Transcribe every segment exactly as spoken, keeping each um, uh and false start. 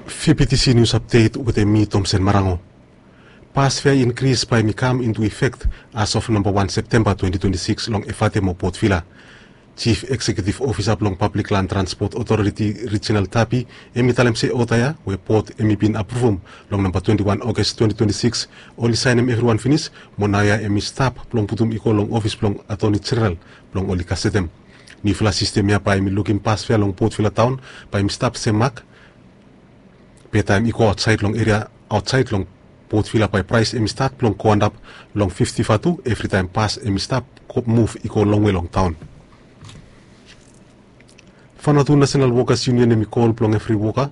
Fifty C News Update wetem mi, Tomsen Marango. Bus fare increase bae i kam into effect as of namba wan Septemba twenty twenty-six long Efate mo Port Vila. Chief Executive Officer blong Public Land Transport Authority Regional Tapi, hemi talem se oda ya we Port hemi bin apruvum long namba twenty-one August twenty twenty-six, oli saenem evriwan finis, mo naoia hemi stap blong putum i go long ofis blong Attorney General blong oli gasetem. Niufala sistem ya bae hemi lukim bus fare long Port Vila taon bae hemi stap sem mak. Be taem i go aotsaed long eria aotsaed long Port Vila bae praes hemi stat blong go antap long fifti vatu evritaem bus hemi stap muv i go longwe long taon. Vanuatu National Workers Union hemi kol blong evri woka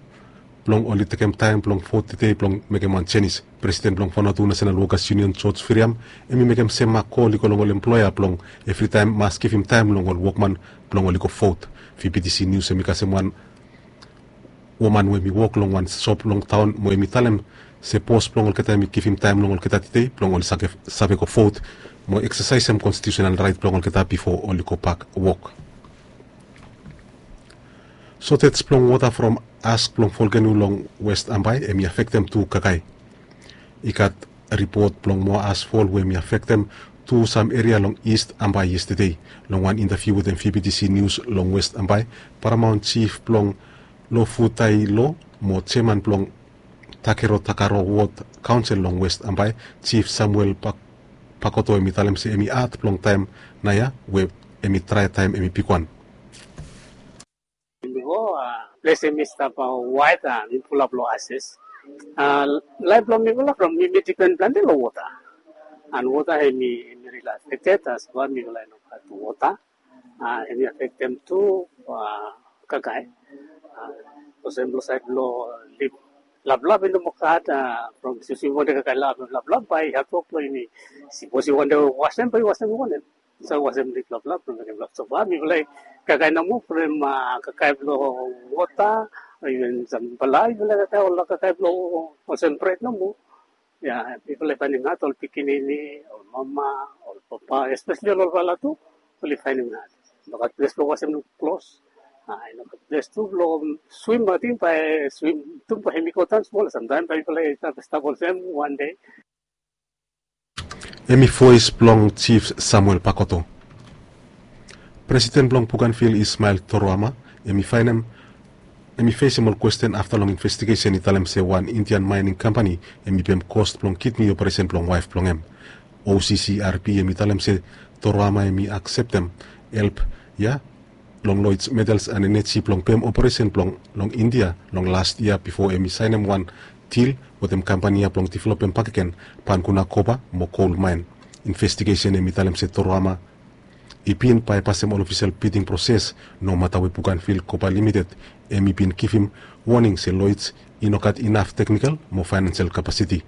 blong oli tekem taem blong vot tede blong mekem wan jenis. Presiden blong Vanuatu National Workers Union, George Viriam, hemi mekem sem mak kol i go long ol emploea blong evritaem mas givim taem long ol wokman blong oli go vot. Fifty C News hemi kasem wan woman we hemi wok long wan sop long taon mo hemi talem se bos blong olgeta hemi givim taem long olgeta tede blong oli save go vot mo eksasaesem konstitiusenal raet blong olgeta bifo oli gobak wok. Sotej blong wota from as blong volkeno long West Ambae hemi afektem tu kakae. I gat ripot blong moa as fol we hemi afektem tu sam eria long East Ambae yestede. Long wan intaviu wetem Fifty C News long West Ambae, paramaon jif blong Lofutailo mo jeman blong Takero Takaro Wod Kaonsel long West Ambae, Jif Samuel Pakoto, hemi talem se hemi had blong taem naoia we hemi drae taem hemi bigwan. Bifo, a, ples hemi stap waet, a, hemi fulap long ases. A, laef blong mifala from mi, mi dipen plante long wota. An wota hemi, hemi rili afekted, a, so far mifala i no gat wota. A, hemi afektem tu, a, kakae. A, olsem long saed blong lip laplap i no moa gat, a, from sipsip i wantem kakae laplap, bae i hatwok blong yumi. Sipos i wantem wasem, bae i wasem i wanem. Sa wasem lip laplap blong mekem lap. So far mifala i kakae nomo from, a, kakae blong wota, iven sam bae mifala i kakae ol kakae blong olsem bred nomo. Ya, mifala i faenem had, ol pikinini, ol mama, ol papa, espeseli ol olfala tu, oli faenem had. No gat ples blong wasem klos. A, i no gat ples tu blong swim, ating bae swim tu bae hemi go daon smol, samtaem bae mifala i stap, stap olsem wan dei. Hemi voes blong Jif Samuel Pakoto. Presiden blong Bougainville, Ismail Toroama, hemi faenem, hemi fesem ol kwesten afta long investigesen i talem se wan Indian maening kampani hemi pem kost blong kidni operesen blong waef blong hem. O C C R P hemi talem se Toroama hemi akseptem help ya long Lloyds Metals and Energy blong pem operesen blong long India long las yia bifo hemi saenem wan dil wetem kampani ya blong developem bakegen Panguna kopa mo kol maen. Investigesen hemi talem se Toroama i bin baepasem ol ofisel biding proses, nomata we Bougainville Copper Limited hemi bin givim woning se Lloyds i no gat inaf teknikol mo faenansel kapasiti.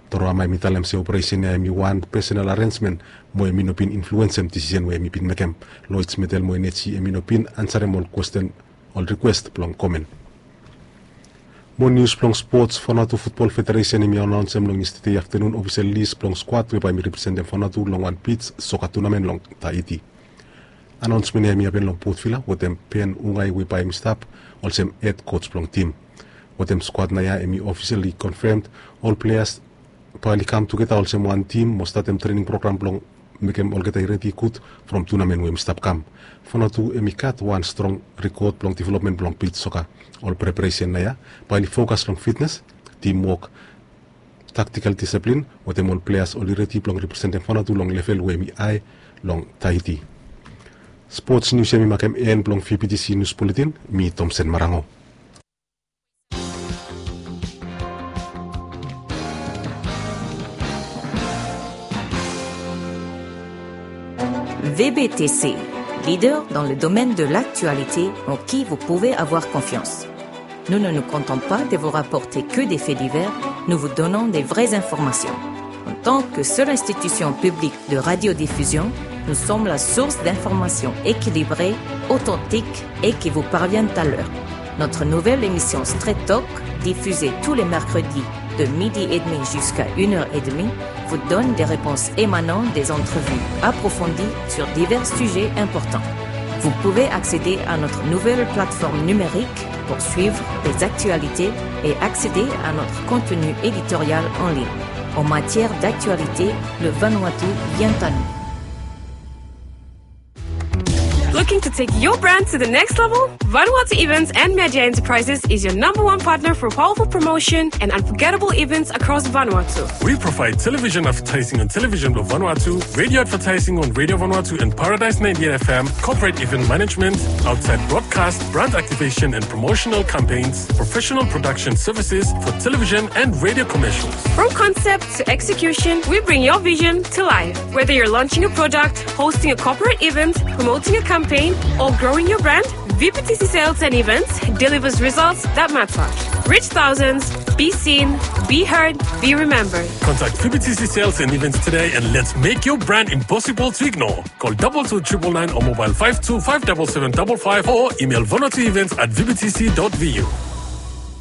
Toroama hemi talem se operesen ya hemi wan pesenal arensmen mo hemi no bin influensem disisen we hemi bin mekem. Lloyds Metals mo Energy hemi no bin ansarem ol kwesten, ol rikwes blong komen. Mo nius blong spots. Vanuatu Futbol Federesen hemi anaonsem long yestede aftenun ofisel lis blong skwad we bae hemi representem Vanuatu long wan bij soka tunamen long Tahiti. Anaonsmen ya hemi hapen long Port Vila wetem Ben Ungai we bae hemi stap olsem hed koj blong tim. Wetem skwad naoia hemi ofiseli konfemd, ol pleas bae oli kam tugeta olsem wan tim mo statem trening program blong mekem olgeta i redi gud from tunamen we hemi stap kam. Vanuatu hemi gat wan strong rekod blong developmen blong bij soka. Ol preparesen naoia bae oli fokas long fitnes, timwok, taktikal disiplin, wetem ol pleas oli redi blong representem Vanuatu long level we hemi hae long Tahiti. Spots nius ya hemi makem en blong V B T C Nius Buletin. Mi Tomsen Marango. V B T C, leader dans le domaine de l'actualité en qui vous pouvez avoir confiance. Nous ne nous contentons pas de vous rapporter que des faits divers, nous vous donnons des vraies informations. En tant que seule institution publique de radiodiffusion, nous sommes la source d'informations équilibrées, authentiques et qui vous parviennent à l'heure. Notre nouvelle émission Straight Talk, diffusée tous les mercredis de midi et demi jusqu'à une heure et demie, vous donne des réponses émanant des entrevues approfondies sur divers sujets importants. Vous pouvez accéder à notre nouvelle plateforme numérique pour suivre les actualités et accéder à notre contenu éditorial en ligne. En matière d'actualité, le Vanuatu vient à nous. Looking to take your brand to the next level? Vanuatu Events and Media Enterprises is your number one partner for powerful promotion and unforgettable events across Vanuatu. We provide television advertising on Television Blue Vanuatu, radio advertising on Radio Vanuatu and Paradise ninety-eight F M, corporate event management, outside broadcast, brand activation and promotional campaigns, professional production services for television and radio commercials. From concept to execution, we bring your vision to life. Whether you're launching a product, hosting a corporate event, promoting a campaign, or growing your brand, V P T C Sales and Events delivers results that matter. Reach thousands, be seen, be heard, be remembered. Contact V P T C Sales and Events today and let's make your brand impossible to ignore. Call double two triple nine or mobile five two five double seven double five or email vanuatuevents at V P T C dot V U.